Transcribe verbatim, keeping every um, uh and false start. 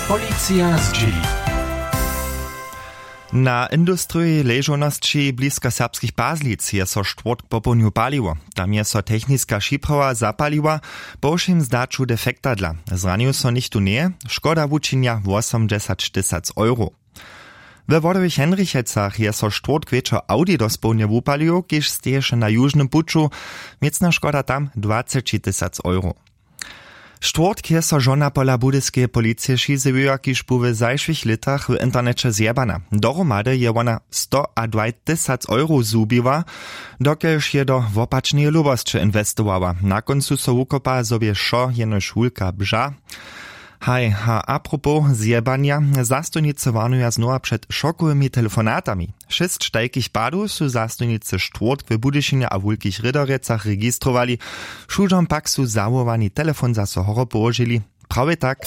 Policija zdźěli. Na industriji ležownosći blisko serbskich Pazlic je so štwórtk popołdnju paliło. Tam je so techniska připrawa zapaliła po wšěm zdaću defekta dla. Zranił so něchtó njeje. Škoda wučinja wosomdźesaćtysac euro. We Wodowych Hendrichecach je so štwórtk wječor Audi dospołdnje wupalił, kiž steješe na južnym puću. Měcna škoda tam dwacećitysac euro. Štwórtk je so žona pola budyskeje policije šizewiła, kiž bu w zašłych lětach w interneće zjebana. Dohromady je wona stoadwajtysac euro zhubiła, dokelž je do wopačneje lubosće inwestowała. Na kóncu so wukopa zobje wšo jenož wulka bža. Haj, a apropos zjebanja, zastojnicy warnuja znowa před šokowymi telefonatami. Šěsć tajkich padow su zastojnicy štwórtk w Budyšinje a wulkich Rěderjecach registrowali. Wšudźom pak su zawołowani telefon zaso horo połožili. Prawje tak.